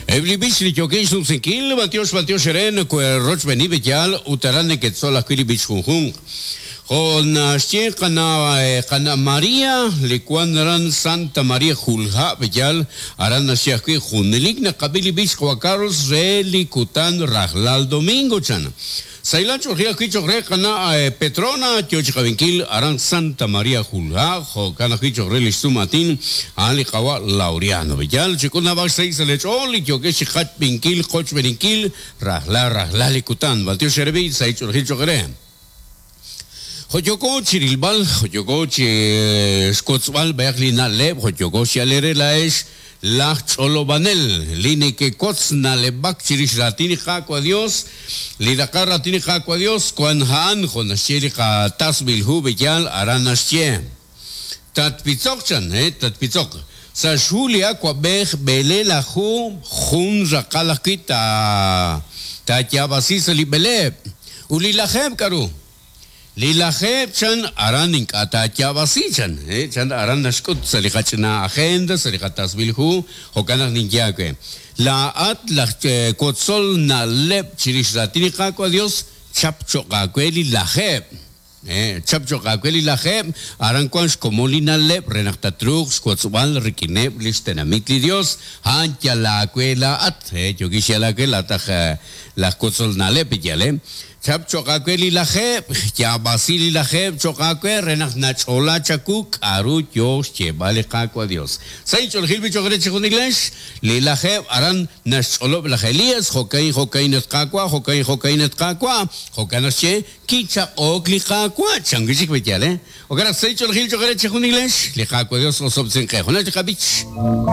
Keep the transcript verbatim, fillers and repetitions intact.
Eb' li b'ich li yookin xnumsinkil, b'antiox b'antiox eere rochb'eeni b'eyal ut aran neketzol ajwi' li b'ich junjunq. Jo' naxye qana' qana' Maria li wan aran Santa Maria Julha' b'eyal aran naxye ajwi' junelik naqab'i li b'ich Juan Carlos re li kutan rajlal domingo chan. Saylan ch'oxi ajwi' choq re qana' Petrona yo chi qabinkil aran Santa Maria Julha' jo'kan ajwi' choq re li xsumatin a'an li qawa' Laureano b'eyal chik'ul nab'ax sa' sa' lech'ool li yokex chi qatb'inkil qochb'eninkil rajlal rajlal li kutan b'antiox erebi say ch'oxi choq re. Joyoko chirilb'al, joyoko chi xkotzb'al b'ayaq li na'leb', joyoko xialere laex laj ch'olobanel, li nekekotz na'leb'ak chirix ratini qaawa' Dios, li raqal ratini qaawa' Dios kwan ha'an jo' naxye li qatasb'ilhu b'eyal aran naxye. Tatpitzok chan, eh, tatpitzok. Sa' xjulia wab'ej b'ele laju jun raqal ajwi' ta tayab'asi sa' li b'eleb'. Ut li lajeb' k'aru? Li lajeb' chan aran ink'a' taayab'asi chan, eh, chan aran naxk'ut sa' li qach'ina agenda, sa' li qatasb'ilhu, jo'kan naq ninye aawe. Laa'at laj kotzol na'leb' chirix ratini qaawa' Dios, chap choq' aawe li lajeb'. Eh, chap choq' aawe li lajeb', aran wan xkomon li na'leb' re naq tatruuq xwotzb'al rik'ineb' li xtenamit li Dios, a'an yal aawe laa'at, eh, yokix yal aawe laa'at aj laj kotzol na'leb' yal, eh. Chap choq' aawe li lajeb', yaab'asi li lajeb' choq' aawe re naq nach'ola chaku k'aru yo xyeeb'al li qaawa' Dios. Sa' inch'oolejil b'i choq' re chi junilex, li lajeb' aran naxch'olob' laj Elías, jo'kain jo'kain at qaawa', jo'kain jo'kain at qaawa', jo'kan naxye kichaq'ok li qaawa', chan wi' chik b'eyal, eh. Jo'kan naq sa' inch'oolejil choq' re chi junilex, li qaawa' Dios osob'tzinqe. Junal chi qab'ich.